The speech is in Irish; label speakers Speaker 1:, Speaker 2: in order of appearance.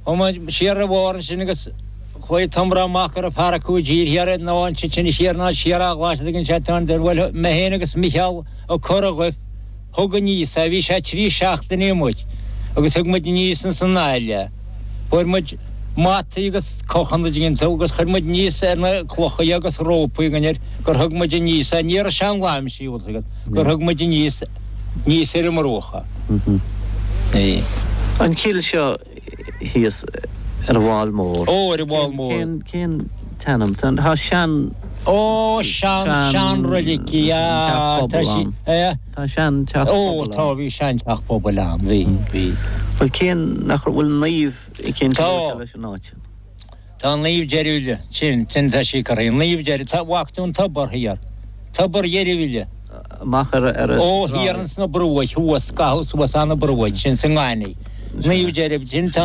Speaker 1: Chuaigh muid siar ar bharr ansin agus chuaigh Tom Brown amach go raibh fear acu i dtír thiar ná ansin sin siar ná siar a ghlas tuigeann sé tá an bhuel mé féin agus Micheál Ó Corradhuibh thug aníos é bhí sé trí seachtainí amuigh agus thug muid aníos ins an aill é. Fuair muid mataí agus cochanna tuigeann tú agus chuir muid aníos ar na clocha é agus rópaí againn air gur thug muid aníos é ní raibh sé an láimhsí bhfuil 's agat gur thug muid aníos aníos ar an mbruach é.
Speaker 2: An chill seo thíos ar an bhFál Mór.
Speaker 1: Ó, ar an bhFál Mór.
Speaker 2: Cén, cén t-ainm? Tá, tá sean.
Speaker 1: Ó, sean, sean-roilig í,
Speaker 2: ah, tá sí, eh. Tá sean teach
Speaker 1: pobail ann. Ó, tá, bhí sean teach pobail ann, bhí, bhí.
Speaker 2: Bhuel, cén, nach bhfuil naomh eicínt luaite leis an áit?
Speaker 1: Tá Naomh Deirbhile, sin, sin tá sí curtha, Naomh Deirbhile, tá, bhfaca tú an tobar thiar, tobar Dheirbhile.
Speaker 2: Amach ar, ar an
Speaker 1: Ó, thiar ins na bruaigh, thuas, caitheadh suas an na bruaigh, sin sa ngaineamh. Naomh Deirbhile, sin tá.